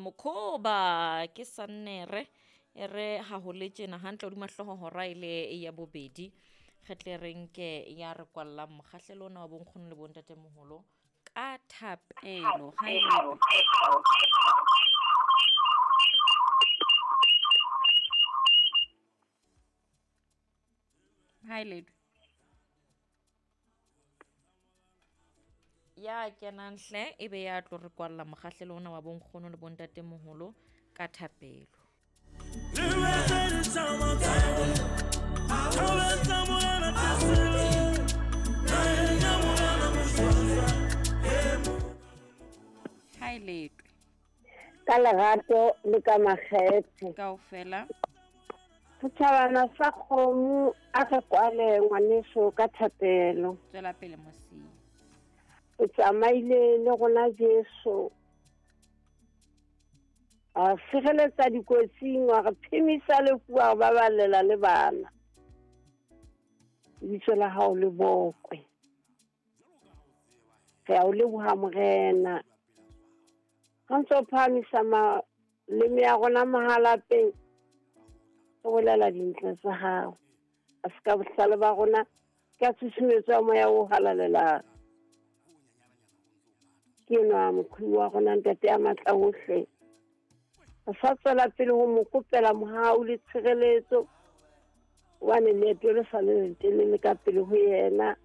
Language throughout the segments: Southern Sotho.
Mokhoba ke sannere e re ha ho le tjena hantle hodima hlooho hora e le ya bobedi re tle re nke ya re kwallang mokgahlelo ona wa bonkgono le bontatemoholo ka thapelo ha e le ha e ledwe ya kenang hle e be ya tlo re kwalla mokgahlelo ona wa bonkgono le bontatemoholo ka thapelo. Ha e letwe. Ka lerato le ka makgethe. Kaofela. Setjhabana sa kgomo a re kwale ngwaneso ka thapelo. Tswela pele Mosiya. O tsamaile le rona Jesu. A sireletsa dikotsing, wa re phemisa lefu, wa re baballela le bana. Lebitso la hao le bokwe. Re a o leboha Morena. Ha ntse o phahamisa maleme a rona mahalapeng, re bolela dintle tsa hao. A se ka bohlale ba rona, ka tshusumetso ya moya o halalelang. Ke enwa moqhubi wa rona ntate ya matla ohle. Re sa tswela pele ho mo kopela mohau le tshireletso, hobane leeto le sa le letelele ka pele ho yena.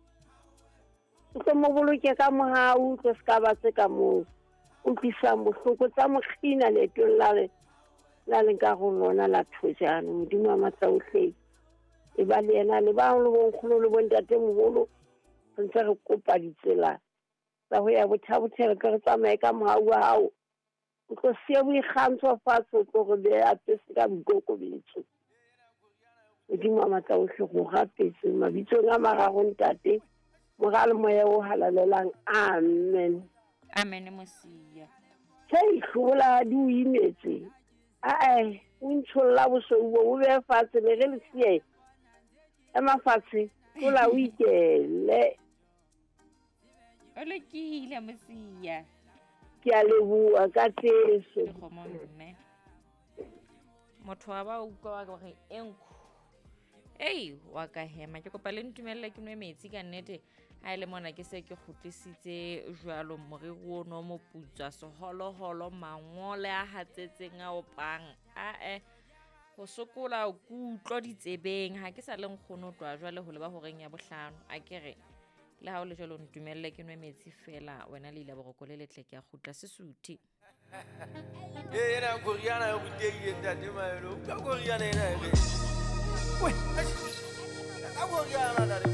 O tlo mo boloke ka mohau, o tlo se ka ba tse ka mo utlwisang bohloko tsa mokgina leetong la le la leng ka go lona la thojane. Modimo wa matla ohle e ba le yena le ba le bonkgono le bontatemoholo. Re ntse re kopa ditsela tsa ho ya bothabothele, tle re tsamaye ka mohau wa hao. O tlo siya boikgantsho fatshe, o tlo re beha apese ka boikokobetso. Modimo wa matla ohle, go rapetse mabitsong a mararo ntate, Mora le Moya o halalelang. Amen. Amen Mosiya. Hei, hlobola di o imetse. Ae, o ntsholla bosweu bo bo behe fatshe, le re le siye. Ema fatshe, tlola o ikele. O lokile Mosiya. Ke a leboha ka Jesu. Dikgomo mme. Motho wa ba utlwa wa gore e nkhu. Ei, wa ka hema. Ke kopa le ntumelle ke nwe metsi ka nnete. Ha e le mona ke se ke kgutlisitse jwalo moriri ono o moputswa, seholoholo, mangole a hatsetseng a opang. Ae, ho sokola kutlo ditsebeng. Ha ke sa le nkgono tloha jwale ho leba horeng ya bohlano. A ke re, le ha o le jwalo ntumelle ke nwe metsi fela. Wena le ila boroko le letle, ke a kgutla sesuthi. Ee, ena koriana e rutehile ntate Maelo. Utlwa koriana ena e re.